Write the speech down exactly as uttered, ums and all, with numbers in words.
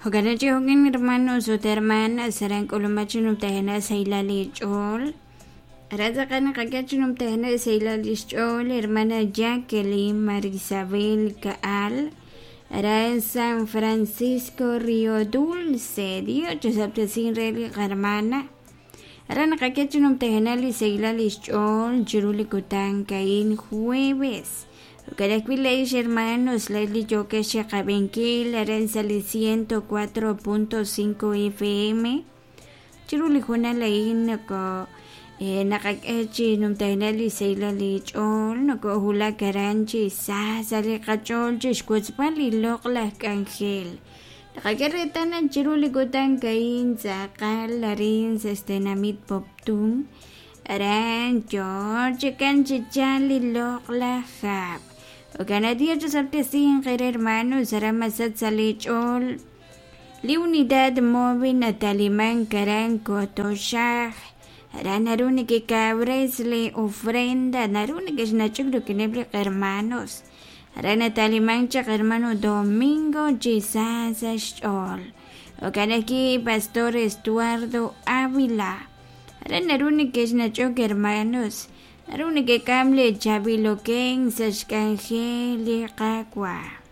Jo'kan chi jo'kan hermanos ut hermanas aran k'ulumaj chi numtajenaq sahilal eech'ool aran tz'aqal naqak'e chi numtajenaq sahilal ixch'ool hermana Jacqueline Marisabel Ka'al aran San Francisco Río Dulce Dios chosab'tesin re li qahermana aran naqak'e chi numtajenaq li sahilal ixch'ool chiru li kutan ka'in jueves Jo'kan ajwi' le'ix hermanos le'x li yookex chiqab'inkil aran sa' li ciento cuatro punto cinco FM chiru li hoonal a'in noko naqak'e chi numtajenaq li sahilal eech'ool nokowulak aran chi sa sa' li qach'ool chixwotzb'al li loq'laj k'anjel naqak'e reetal naq chiru li kutan ka'in tz'aqal arin sa' xtenamit Poptún aran yoo chikan chi chal li loq'laj hab' Jo'kan Dios chosab'tesinq eere hermanos aran masach sa' leech'ool li unidad móvil natalimank aran Kotoxaj aran naru nekekawres li ofrenda naru nekexnach'ok rik'ineb' li hermanos aran natalimank chaq hermano Domingo chi sa sa' xch'ool jo'kan ajwi' Pastor Estuardo Ávila aran naru nekexnach'ok hermanos naru nekek'am li chaab'iloken sa' xk'anjel li Qaawa'.